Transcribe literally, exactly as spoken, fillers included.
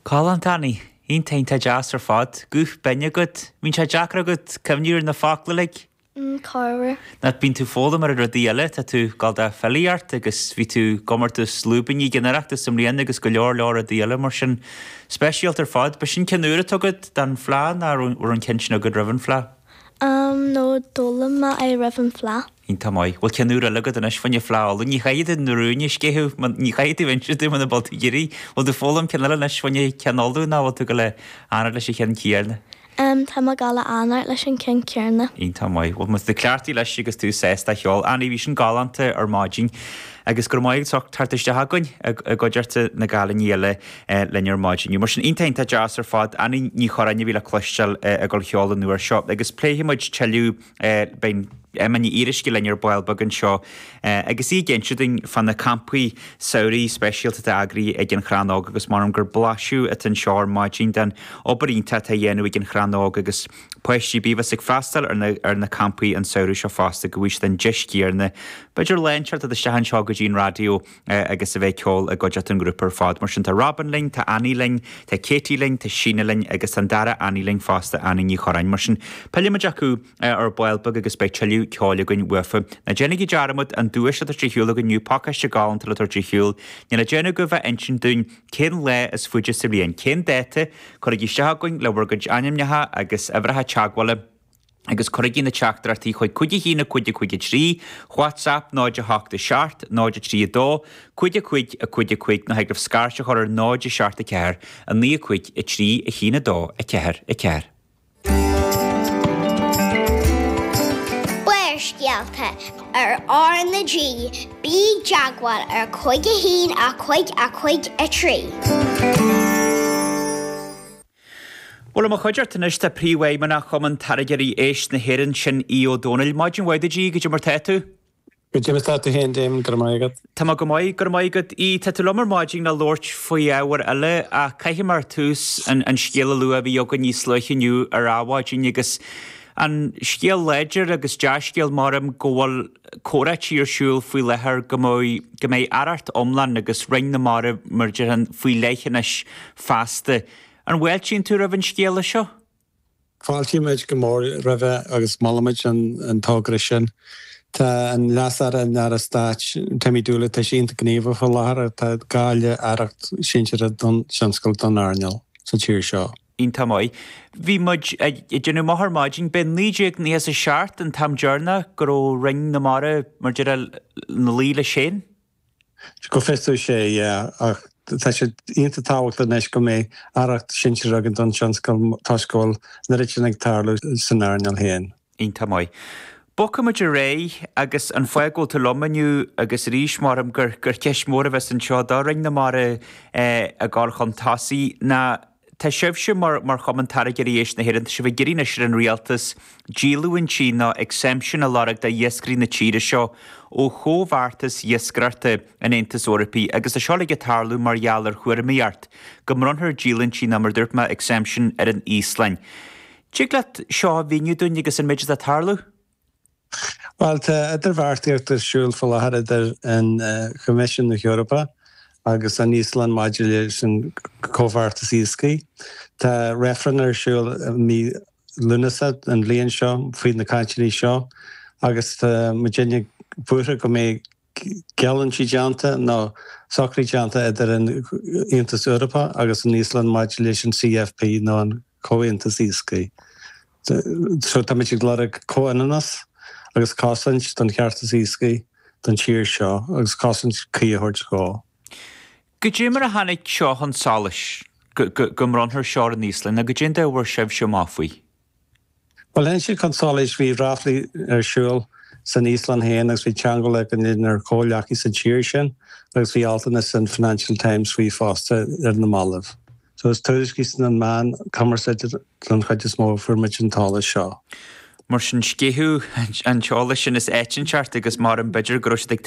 Galánta, Annie, iontach iontach deas ar fad. Guth binn agat. Bíonn sé deacair agat cuimhniú ar na focla uilig? Mm, corruair. Nó bíonn tú foghlaim ar rudaí eile, tá tú ag gabháil do filíocht agus bhí tú i gcomórtas lúibíní ag an Oireachtas i mbliana agus go leor leor rudaí eile mar sin. Speisialta ar fad. Ba sin ceann úr atá agat don Fhleadh nó raibh an ceann sin agat roimh an Fhleadh? Um, no d'fhoghlaim mé é roimh an Fleadh. Iontach maith. Bhfuil ceann úr eile agat anois fá choinne Fleadh Uladh? Ní chaithfidh tú na rúin a sceitheadh, ní chaithfidh tú inse dúinn muna bhfuil tú ag iarraidh. Bhfuil tú foghlaim ceann eile anois fá choinne ceann Uladh nó bhfuil tú ag gabháil a fhanacht leis an cheann céanna? Um, tá mé ag gabháil a fhanacht leis an ceann céanna. Iontach maith. Bhuel, má tá tú cleachtaithe leis agus tú sásta a cheol. Annie, bhí sin galánta ar maidin agus go raibh maith agat as ucht teacht isteach againn i gcuideachta na gcailíní eile linn ar maidin inniu. Mar sin iontach iontach deas ar fad. Annie Ní Churráin a bhí le cloisteáil ag dul a cheol an uair seo agus pléifidh muid tuilleadh beidh Emma Ní Fhíoruisce linn ar ball beag anseo agus í ag inse dúinn fá na campaí samhraidh speisialta atá eagraithe ag an Chrann Óg agus measaim gur blaiseadh atá anseo ar maidin den obair iontach atá á dhéanamh ag an Chrann Óg agus páistí a bheas ag freastal ar na, ar na campaí an samhradh seo fosta go bhfaighidh siad an deis chéanna b'fhéidir lá inteacht isteach anseo go dtí an raidió agus a bheith ag ceol i gcuideachta an ghrúpa ar fad. Mar sin tá Robin linn, tá Annie linn, tá Katie linn, tá Síne linn agus tá an dara Annie linn fosta, Annie Ní Churráin. Mar sin pillfimid acu ar ball beag agus beidh tuilleadh ceoil againn uafa. Ná déanaigí dearmad an duais atá ar siúl againn inniu, pacáiste galánta le tabhairt ar shiúl. Níl le déanamh agaibh ach insint dúinn cén lá is faide sa bhliain, cén dáta, cuirigí isteach chugainn le bhur gcuid ainmneacha agus uimhreacha teagmhála agus cuirigí na teachtaireachtaí chuig cúig a haon a cúig a cúig a trí, WhatsApp náid a hocht a seacht, náid a trí a dó, cúig a cúig a cúig a cúig nó thig libh scairt a chur ar náid a seacht a ceathair, a naoi a cúig a trí a haon a dó a ceathair a ceathair. Barrscéalta ar R na G, bí i dteagmháil ar cúig a haon a cúig a cúig a trí. Bhuel, i mo chuideachta anois tá Príomhfheidhmeannach Chumann Táirgeoirí Éisc na hÉireann, sin Aodh Ó Domhnaill. Maidin mhaith duit, Aodh, goidé mar tá tú? Goidé mar tá tú féin, Damon, go raibh maith agat. Tá mé go maith, go raibh maith agat. Aodh, tá tú liom ar maidin le labhairt faoi ábhar eile ach caithfidh mé ar tús an, an scéal a lua a bhí againn níos luaithe inniu ar Adhmhaidin agus an scéal láidir agus dea-scéal maram go bhfuil comhráití ar siúl faoi láthair go mbeidh, go mbeidh aireacht iomlán agus Roinn na Mara mar a déarfá faoi leith anois feasta. An bhfáiltíonn tú roimh an scéala seo? Fáiltímid go mór roimhe agus molaimid an togra sin. Tá an Leas-Aire, an Aire Stáit, Timmy Dooley, tá sé iontach gníomhach faoi láthair. Tá gá le aireacht sinsearach don tionscal, don earnáil sa tír seo. Iontach maith. Bhí muid ag déanamh amach ar maidin, b'é naoi déag nócha is a seacht an t-am deireanach go raibh Roinn na Mara mar a déarfá ina luí leis féin. Go bhfios domh sé, yeah, ach tá sé iontach tábhachtach anois go mbeidh aireacht sinsearach againn don tionscal toisc go bhfuil an oiread sin ag tarlú san earnáil féin. Iontach maith. Bogfaimid ar aghaidh agus an fáth go bhfuil tú liom inniu agus arís maram gur gur ceist mhór a bheas anseo do Roinn na Mara ag gabháil chun tosaigh ná Tá sibhse mar mar Chumann Táirgeoirí Éisc na hÉireann, tá sibh ag iarraidh anois ar an Rialtas díolúintí nó exemption a lorg do iascairí na tíre seo ó chomhbheartas iascaireachta an Aontais Eorpaigh agus tá seo uilig ag tarlú mar gheall ar thuairimíocht go mbronnfar díolúintí nó mar a dúirt mé exemption ar an Íoslainn. Tig leat seo a mhíniú dúinn agus an méid atá ag tarlú? Bhuel, tá idirbheartaíocht ar siúl faoi láthair idir an Choimisiún na hEorpa agus an Íoslainn maidir leis an gcomhbheartas iascaigh. Tá reifreann ar siúl i mí Lúnasa an bhliain seo faoi na cainteanna seo agus tá muidinne buartha go mbeidh geallúintí déanta nó socruithe déanta idir an Aontas Eorpach agus an Íoslainn maidir leis an C F P nó an Comhaontas Iascaigh. So táimid ag lorg comhionannas agus cosaint don cheartas iascaigh don tír seo agus cosaint cuí a thabhairt dhó. Goidé mar a tháinig seo chun solais go go mbronnfar seo ar an Íoslainn nó goidé an dóigh a bhfuair sibhse amach faoi? Bhuel, tháinig sé chun solais, bhí ráflaí ar siúl san Íoslainn féin agus bhí teagmháil againn lenár gcomhghleacaithe sa tír sin agus bhí altanna san Financial Times faoi fosta ar na mallaibh. So is tuairiscí sna meáin cumarsáide don chuid is mó a fuair muid an t-eolas seo. Mar sin sceitheadh an t-eolas sin is áit inteacht agus mar an b'fhéidir go raibh siad ag